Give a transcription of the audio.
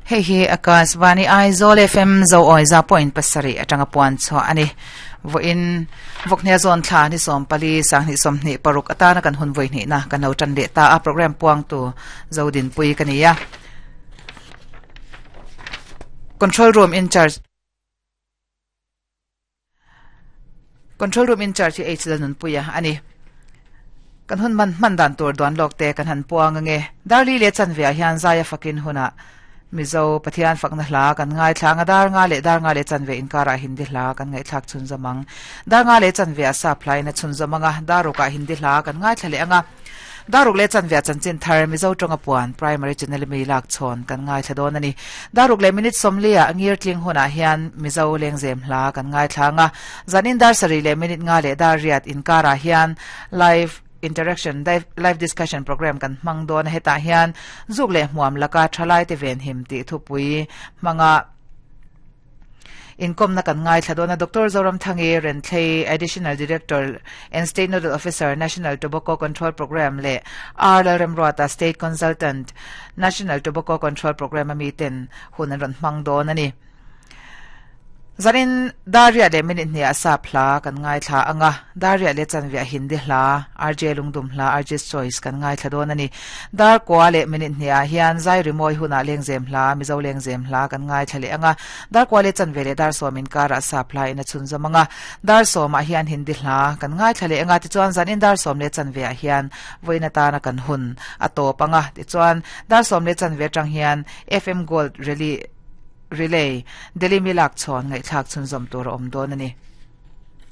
Hei hi Akashvani Aizawl FM Zoawi za point pasarih atanga puan chhuah a ni. Vawiin Vawkhnia zawn thla ni 14 2026 atana kan hun vawi hnihna kan lo tan leh ta a program puangtu Zodinpui ka ni a. Control room in charge Control room in charge hi H Lalnunpuia a ni. Kan hun man hman dan tur duan lawk te kan han puang ange. Darli leh chanve ah hian Zaia fakin hunah Mizo Pathian fakna hla kan ngaithla anga dar nga leh dar nga leh chanve inkarah Hindi hla kan ngaihthlak chhunzawm ang. Dar nga leh chanve ah sap hla in a chhunzawm anga dar rukah Hindi hla kan ngaithla leh anga. Daruk leh chanve ah chanchin thar Mizo tawnga puan Primary Channel mi lak chhawn kan ngaithla dawn a ni. Daruk leh minute 40 ah ngir tling hunah hian Mizo lengzem hla kan ngaithla ang a. Zanin dar sarih leh minute nga leh dar riat inkarah hian live interaction live discussion program kan hmang dawn a. Hetah hian zuk leh hmuam laka thalaite venhim tih thupui hmanga Inkawmna kan ngaithla dawn a, Doctor Zoramthangi Renthlei, Additional Director and State Nodal Officer, National Tobacco Control Programme leh R Lalremruata, State Consultant, National Tobacco Control Programme a miten hun an rawn hmang dawn a ni. Zanin Dar riat leh minute hniah sap hla kan ngaithla ang a, dar riat leh chanve a Hindi hla, RJ Lungdum hla, RJ's Choice kan ngaithla dawn a ni. Dar kua leh minute hniah hian zai rimawi hunah lengzem hla, Mizo lengzem hla kan ngaithla leh ang a, Dar kua leh chanve leh dar sawm inkarah sap hla in a chhunzawm ang a, dar sawmah hian Hindi hla kan ngaithla leh ang a, tichuan zanin dar sawm leh chanveah hian vawiin atana kan hun a tawp ang a, tichuan dar sawm leh chanve atang hian FM Gold Rally Relay, Delhi mi lak chhawn ngaihthlak chhunzawm tur a awm dawn a ni.